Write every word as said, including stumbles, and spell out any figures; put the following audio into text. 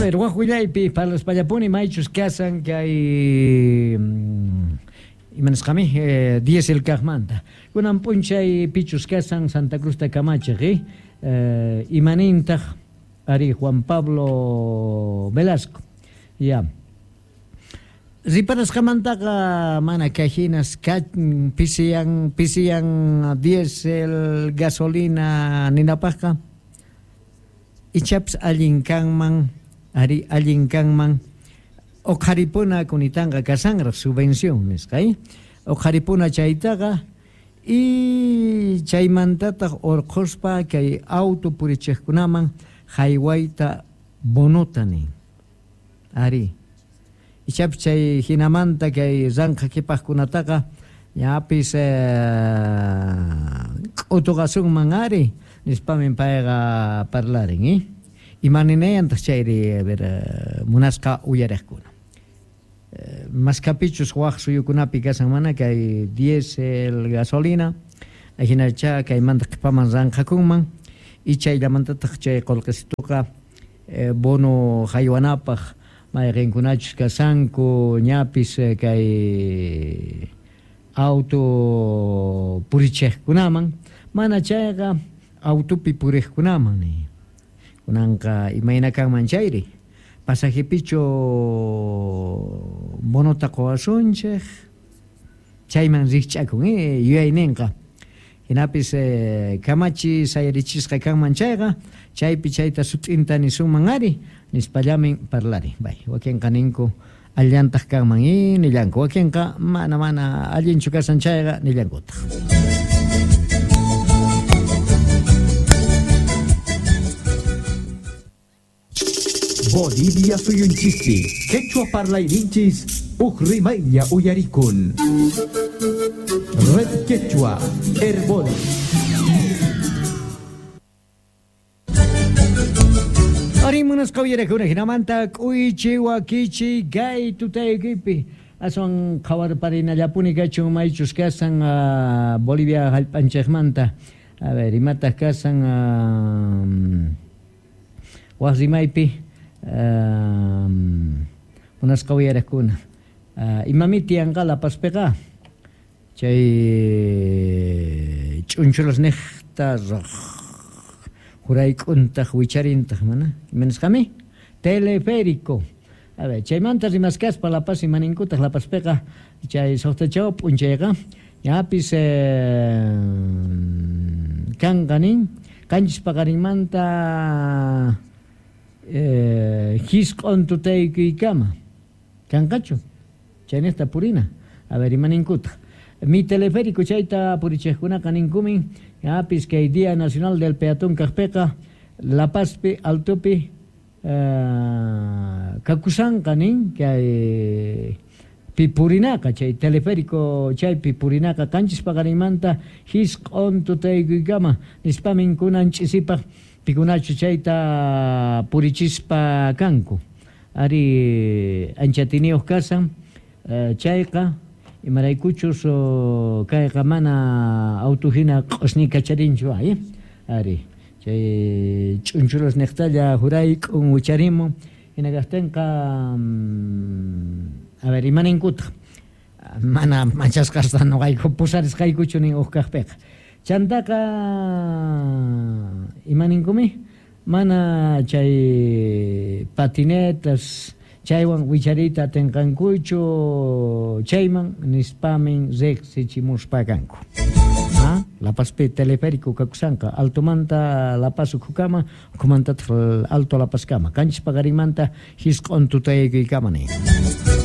A ver, waq willaypi parlaspallapuni maychus kasan kay imanasqami eh, diesel kaqmanta. Kunan p'unchay pichus kasan Santa Cruzta kamachiq eh, eh, imanintaq ari Juan Pablo Velasco. Ya. Riparasqamantaqa mana kahinas pisiyan pisiyan diesel gasolina ninapaqqa ichaps allin kanman ari allin kanman uqharipuna kunitanqa kasanraq subvención nisqa eh? Uqharipuna chaytaqa y chaymantataq urqhuspa kay auto purichiqkunaman haywayta bonota nin ari ichapi chay hinamanta kay ranqa qhipaqkunataqa ñapis k'utuqasunman ari nispamin payqa parlarin eh? Imaninayantaq chayri a ver munasqa uyariqkuna maskapichus waq suyukunapi kasan mana kay diesel gasolina ajinacha kaymanta qhipaman ranqakunman y chayllamantataq chay qullqisituqa eh, bono haywanapaq mayqinkunachus kasanku ñapis kay auto purichiqkunaman mana chayqa autopi puriqkunaman ni kunanqa imayna kanman chayri pasajepichu bonota quwasunchik chayman rikch'akun eh, yuyayninqa hinapis eh, kamachi sayarichisqa kanman chayqa chaypi chayta sut'inta nisunman ari nispallamin parlari bay wakinqa ninku allantaq kanman i nillanku wakinqa mana mana allinchu kasan chayqa nillankutaq. Bolivia suyunchispi, quechua parlayninchis, uj rimaylla uyarikun. Red Quechua, Herbol. Ari munasqa uyarakuna hinamanta k'uychi wakichi kay tutaykipi aswan qhawarparinallapuni kachun maychus kasan uh, Bolivia hallp'anchikmanta. A ver, imataq kasan uh, waq rimaypi Um, munasqa uyarakuna uh, imami tiyanqa La Pazpiqa chay ch'unchulas niqta jurayk'untaq wicharintaq mana imanasqami teleférico. A ver, chaymanta rimaskaspa La Paz imaninkutaq La Pazpiqa chay suqtachaw p'unchayqa ñapis eh, kanqa nin qanchis paqarinmanta Eh, hisq'un tutaykuykama kanqachu chayniqta purina. A ver, imaninkutaq mi teleférico chayta purichiqkunaqa ninkumin ñapis kay Día Nacional del Peatón kaqpiqa La Pazpi altopi eh, kakusanqa nin kay pipurinaqa chay teleférico chaypi purinaqa qanchis paqarinmanta hisq'un tutaykuykama nispamin kunan ch'isipaq pikunachu chayta purichispa kanku ari anchatiniyuq kasan eh, chayqa imaraykuchus oh, kayqa mana auto hina q'usni kacharinchu ay ari chay ch'unchulas niqtalla jurayk'un wicharimun hina kaqtinqa mm, a ver imaninkutaq mana manchasqasta nuqayku pusarisqaykuchu nin uq kaqpiqa chantaqa imaninkumi mana chay patinetas chaywan wichariyta atinqankuchu chayman nispamin riqsichimuspa kanku. Ah, La Pazpi teleférico kakusanqa altomanta La Paz ukhukama ukhumantataq alto La Pazkama qanchis paqarinmanta hisq'un tutaykuykama nin.